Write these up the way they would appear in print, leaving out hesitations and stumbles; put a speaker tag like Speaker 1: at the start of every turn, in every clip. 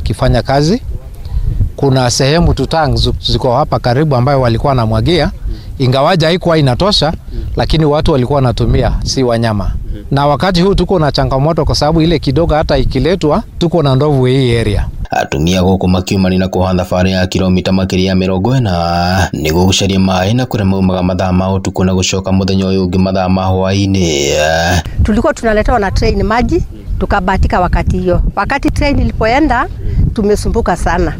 Speaker 1: wakifanya kazi. Kuna sehemu tutang ziko hapa karibu ambayo walikuwa wanamwagia, ingawaja haikuwa inatosha, lakini watu walikuwa wanatumia, si wanyama. Na wakati huu tuko na changamoto kwa sababu ile kidogo hata ikiletwa tuko na ndovu hii area.
Speaker 2: Atumia gũkũ makiumani na kuoha thabarĩ ya kilomita makĩria ya 40 nĩguo gũcaria maĩ na kũrĩa maumaga mathaa ma ũtukũ na gũcoka mũthenya ũyũ ũngĩ mathaa ma hwaĩ-inĩ.
Speaker 3: Tulikuwa tunaletewa na train maji, tukabahatika wakati hiyo. Wakati train ilipoenda tumesumbuka sana.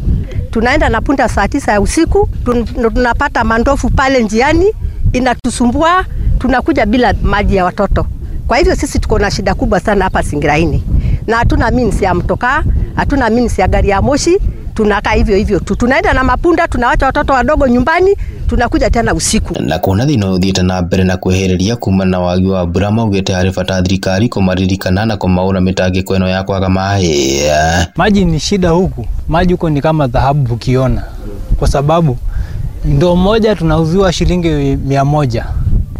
Speaker 3: Tunaenda na punda saa 9 ya usiku, tunapata mandofu pale njiani, inatusumbua, tunakuja bila maji ya watoto. Kwa hivyo sisi tuko na shida kubwa sana hapa Singiraini. Na hatuna means ya mtokaa, hatuna means ya gari ya moshi, tunakaa hivyo hivyo tu. Tunaenda na mapunda, tunawacha watoto wadogo nyumbani, tunakuja tena usiku.
Speaker 2: Na kuona thina uthiite na mbere na kwehereria kuma na wagi wa mbura maugite harĩ bata thirikari kũmaririkana na kũmaũra mĩtangĩko ĩno ya kwaga maĩ.
Speaker 4: Maji ni shida huku, maji huko ni kama dhahabu ukiona, kwa sababu ndoo moja tunauziwa shilingi 100.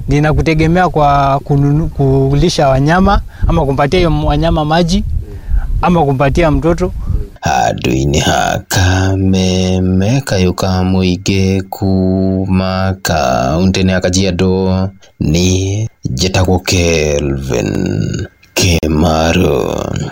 Speaker 4: Ninakutegemea kwa kulisha wanyama ama kumpatia hiyo wanyama maji ama kumpatia mtoto.
Speaker 2: Handũ-inĩ ha Kameme kayũ ka mũingĩ kuma kaũntĩ-inĩ ya Kajiado nĩ njĩtagwo Kelvin Kĩmaru.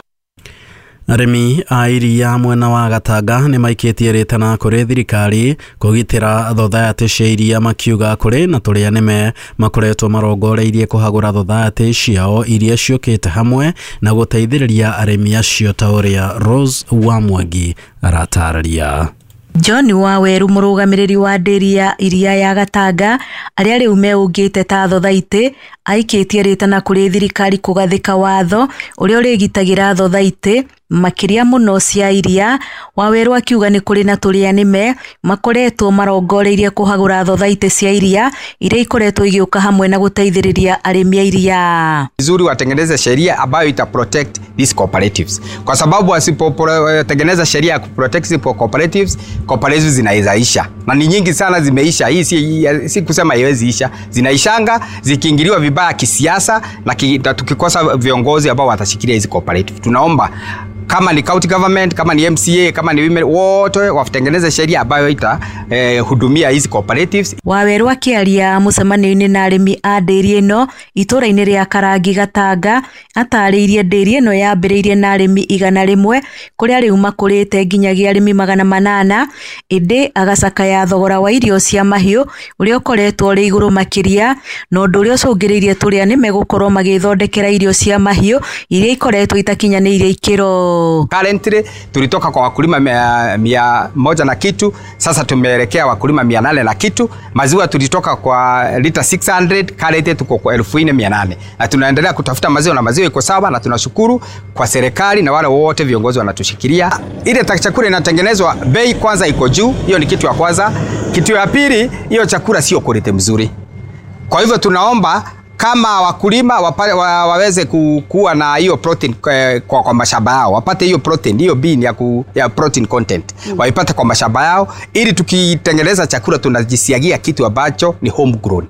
Speaker 5: Arĩmi a iria mwena wa Gatanga nĩ maikĩtie rĩtana kũrĩ thirikari kũgitĩra thothaitĩ cia iria, makiuga kũrĩ na tũrĩa nĩme makoretwo marongoreirie kũhagũra thothaitĩ ciao iria ciũkĩte hamwe na gũteithĩrĩria arĩmi acio ta ũrĩa Rose wa Mwangi aratarĩria.
Speaker 6: John Waweru mũrũgamĩrĩri wa ndĩri ya iria ya Gatanga arĩa rĩu meũngĩte ta thothaitĩ aikĩtie rĩtana kũrĩ thirikari kũgathĩka watho ũrĩa ũrĩgitagĩra thothaitĩ makĩria mũno cia iria. Waweru akiuga nĩ kũrĩ na tũrĩa nĩme makoretwo marongoreirie kũhagũra thothaitĩ cia iria iria ikoretwo igĩũka hamwe na gũteithĩrĩria arĩmi a iria.
Speaker 7: Vizuri watengeneze sheria ambayo ita protect these cooperatives, kwa sababu wasipotengeneza sheria ya kuprotect these cooperatives, cooperatives zinaizaisha na ni nyingi sana zimeisha. Hii si kusema haiwezi isha, zinaishanga zikiingiliwa vibaya kisiasa na tukikosa viongozi ambao watashikilia hizi cooperative. Tunaomba kama ni county government, kama ni MCA, kama ni women, wote watengeneze sheria ambayo ita hudumia hizi cooperatives.
Speaker 6: Waweru akĩaria mũcemanio-inĩ na arĩmi a ndĩri ĩno itũra-inĩ rĩa Karangi Gatanga atarĩirie ndĩri ĩno yambĩrĩirie na arĩmi 100 kũrĩa rĩu makũrĩte nginyagia arĩmi 800, ĩndĩ agacakaya thogora wa irio cia mahiũ ũrĩa ũkoretwo ũrĩ igũrũ makĩria na ũndũ ũrĩa ũcũngĩrĩirie tũrĩa nĩme gũkorwo magĩthondekera irio cia mahiũ iria ikoretwo itakinyanĩirie ikĩro.
Speaker 7: Currently tulitoka kwa wakulima 100 na kitu, sasa tumeelekea wakulima 800 na kitu. Maziwa tulitoka kwa lita 600, currently tuko kwa 4800 na tunaendelea kutafuta maziwa na maziwa iko sawa, na tunashukuru kwa serikali na wale wote viongozi wanatushikilia. Ile chakula inatengenezwa bei kwanza iko juu, hiyo ni kitu ya kwanza. Kitu ya pili, hiyo chakula sio quality mzuri. Kwa hivyo tunaomba kama wakulima waweze kuwa na hiyo protein kwa mashamba yao, wapate hiyo protein, hiyo bean ya protein content waipate kwa mashamba yao, ili tukitengeneza chakula tunajisiagia kitu ambacho ni homegrown.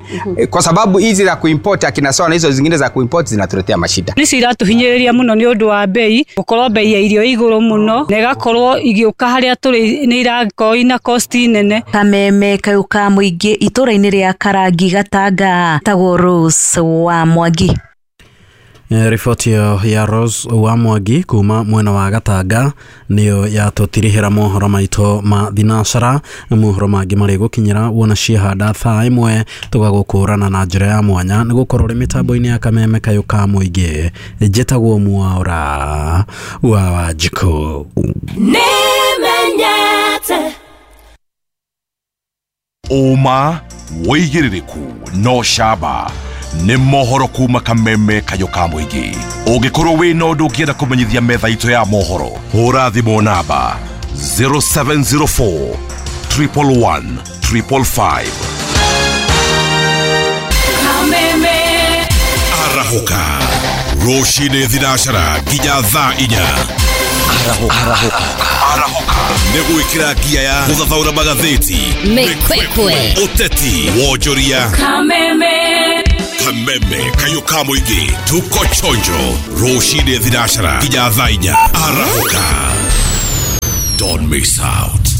Speaker 7: Kwa sababu hizi za kuimport akina sawa na hizo zingine za kuimport zinatuletea mashida.
Speaker 8: Nĩ ciratuhinyĩrĩria mũno nĩ ũndũ wa bei, gũkorwo bei ya irio igũrũ mũno na ĩgakorwo igĩũka harĩa tũrĩ nĩ irakorwo ina cost nene.
Speaker 6: Kameme kayũ ka mũingĩ itũra-inĩ rĩa Karangi Gatanga, tagwo Rose wa Mwangi.
Speaker 5: Riboti ya Rose wa Mwangi kuma mwena wa Gatanga niyo yatũtirihĩra mohoro maitũ ma thinacara. Mohoro mangĩ marĩ gũkinyĩra wona ciahanda thaa 1 tũgagũkũrana na njĩra ya mwanya nĩ gũkorwo ũrĩ mĩtambo-inĩ ya Kameme kayũ ka mũingĩ. Njĩtagwo Mwaura wa Wanjikũ.
Speaker 9: Nĩmenyete
Speaker 10: ũma wĩigĩrĩrĩku no camba nĩ mohoro kuma Kameme kayũ ka mũingĩ. Ũngĩkorwo wĩna ũndũ ũngĩenda kũmenyithia metha itũ ya mohoro, hũra thimũ namba 0704 111 555.
Speaker 9: Kameme
Speaker 10: arahũka rũcinĩ thinacara nginya thaa 4. Arahũka nĩ gwĩkĩra ngia ya gũthathaũra magathĩti,
Speaker 9: mĩkwekwe,
Speaker 10: ũteti, wonjoria.
Speaker 9: Kameme
Speaker 10: Kameme kayũ ka mũingĩ, tuko chonjo rũcinĩ thinacara nginya thaa 4. Arahũka. Don't miss out.